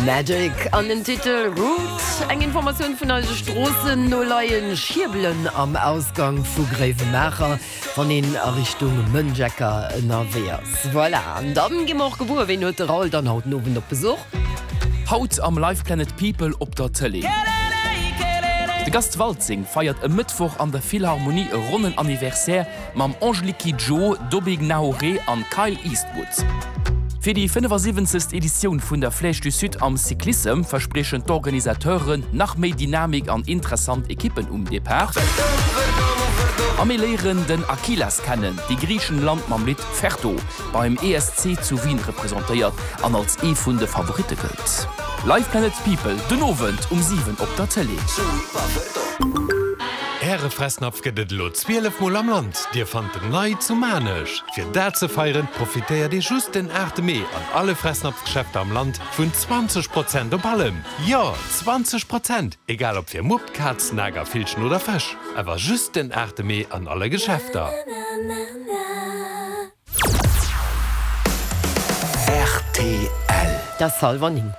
Magic an den Titel Route. Eng Informatioun vun eise Stroossen no leie Schierbelen am Ausgang vu Gréiwemaacher, wann een a Richtung Mënjecker ënnerwee ass. Voilà, an dann gi mer och gewuer, ween huet de Raoul dann haut den Owend op Besuch. Haut am Live Planet People op der Tëlee. De Gast Waltzing feiert e Mëttwoch an der Philharmonie e ronnen Anniversaire mam Angélique Kidjo, Dobby Gnahoré an Kyle Eastwood. Fir déi 75. Editioun vun der Flèche du Sud am Cyclissem verspriechen d'Organisateuren nach méi Dynamik an interessant Ekippen um Depart. A mir léieren den Akylas kennen, dee Griichenland mam Lidd Ferto beim ESC zu Wien representéiert an als ee vun de Favoritte gëllt. Live Planet People den Owend um 7 op der Tëlee. Äre Fressnapf gëtt et elo 12 mol am Land. Dir fannt en nei zu Maarnech. Fir dat ze feieren, profitéiert Dir just den 8 Mee an alle Fressnapf-Geschäfter am Land vun 20 Prozent op allem. Jo, 20 Prozent! Egal ob fir Mupp, Kaz, Nager, Villchen oder Fësch. Awer just den 8 Mee an alle Geschäfter. Rtl. Dat ass hallwer 9.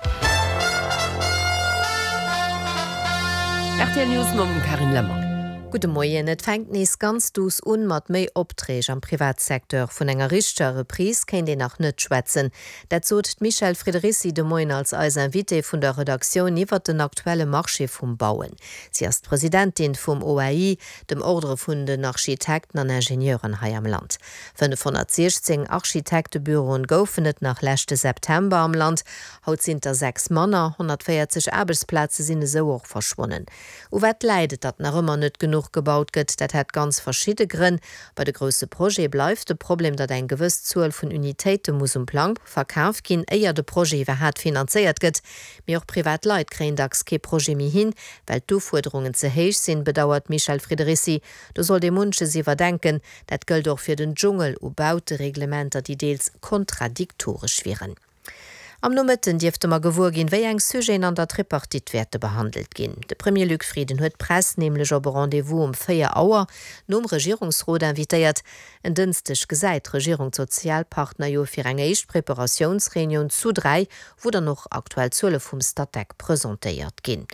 Rtl News mam Carine Lemmer. Gudde Moien. Et fänkt nees ganz duuss un mat méi Opträg am Privatsecteur. Vun enger richteger Reprise kéint een nach net schwätzen. Dat sot d'Michèle Friederici de Moien als eis Invitée vun der Redaktioun iwwert den aktuelle Marché vum Bauen. Si ass d'Presidentin vum OAI, dem Ordre vun den Architekten an Ingenieuren hei am Land. 516 Architektebüroen goufen et nach leschte September am Land, haut sinn der 6 manner. 140 Aarbechtsplaze sinn esou och verschwonnen. U wat läit et, datt nach ëmmer net genuch gebaut gëtt? Dat hätt ganz verschidde Grënn. Bei de grousse Projete bleift de Problem, datt eng gewëss Zuel vun Unitéite muss um Plang verkaf ginn, éier de Projet iwwerhaat finanzéiert gëtt. Mee och privat Leit kréien dacks kee Projet méi hin, well d'Ufuerderungen ze héich sinn, bedauert d'Michèle Friederici. Do sollt ee munches iwwerdenken. Dat gëllt och fir den Dschungel u Bautereglementer, déi deels kontradiktoresch wieren. Am Nomëtten dierfte mer gewuer ginn, wéi eng Sujeten an der Tripartite wäerte behandelt ginn. De Premier Luc Frieden huet d'Press nämlech op e Rendez-vous um 4 Auer nom Regierungsrot invitéiert. En Dënschdeg gesäit d'Regierung d'Sozialpartner jo fir eng éischt Preparatiounsreunioun zu 3, wou dann och aktuell Zuele vum Statec presentéiert ginn.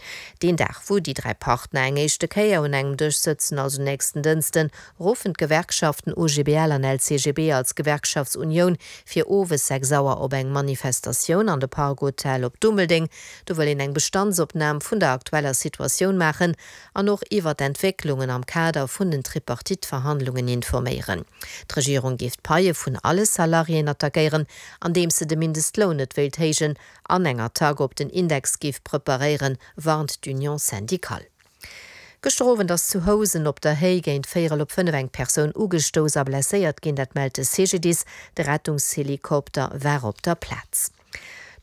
Deen Dag, wou déi 3 Partner eng éischte Kéier un engem Dësch sëtzen, also nächsten Dënschden, ruffen d'Gewerkschaften OGBL an LCGB als Gewerkschaftsunioun fir owes 6 Auer op eng Manifestatioun an de Park Hotel op Dummeldeng. Do wëll een eng Bestandsopnam vun der aktueller Situatioun maachen an och iwwer d'Entwécklungen am Kader vun den Tripartite-Verhandlungen informéieren. D'Regierung géif d'Paie vun alle Salariéen attackéieren, andeems se de Mindestloun net wéilt héijen an eng Attack op den Index géif preparéieren, warnt d'Union syndicale. Gëschter Owend ass zu Housen op der Héi géint véierel op 5 eng Persoun ugestouss a blesséiert ginn, dat mellt de CGDIS. De Rettungshelikopter war op der Plaz.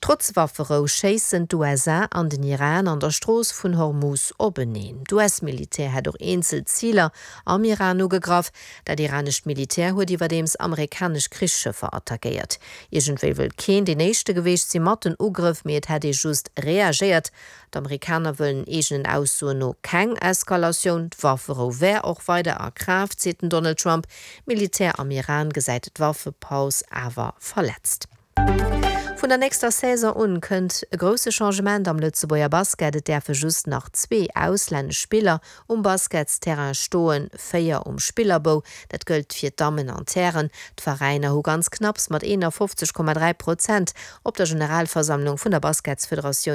Trotz Wafferou schéissen d'USA an den Iran an der Strooss vun Hormuz openeen. D'US-Militär hätt och eenzel Ziler am Iran ugegraff. Dat iranescht Militär huet iwwerdeems amerikanesch Krichsschëffer attackéiert. Iergendwéi wëllt keen deen éischte geweecht si mat den Ugrëff, mee et hätt ee just reagéiert. D'Amerikaner wëllen eegenen Aussoen no keng Eskalatioun. D'Wafferou wär och weider a Kraaft, seet den Donald Trump. D'Militär am Iran gesäit d'Waffepaus awer verletzt. Vun der nächster Saison un kënnt e grousse Changement am Lëtzebuerger Basket. Et däerfe just nach zwee auslännesch Spiller um Basketsterrain stoen, 4 um Spillerbou. Dat gëllt fir d'Dammen an d'Hären. D'Veräiner hu ganz knapps mat 51,3 Prozent op der Generalversammlung vun der Basketsfederatioun.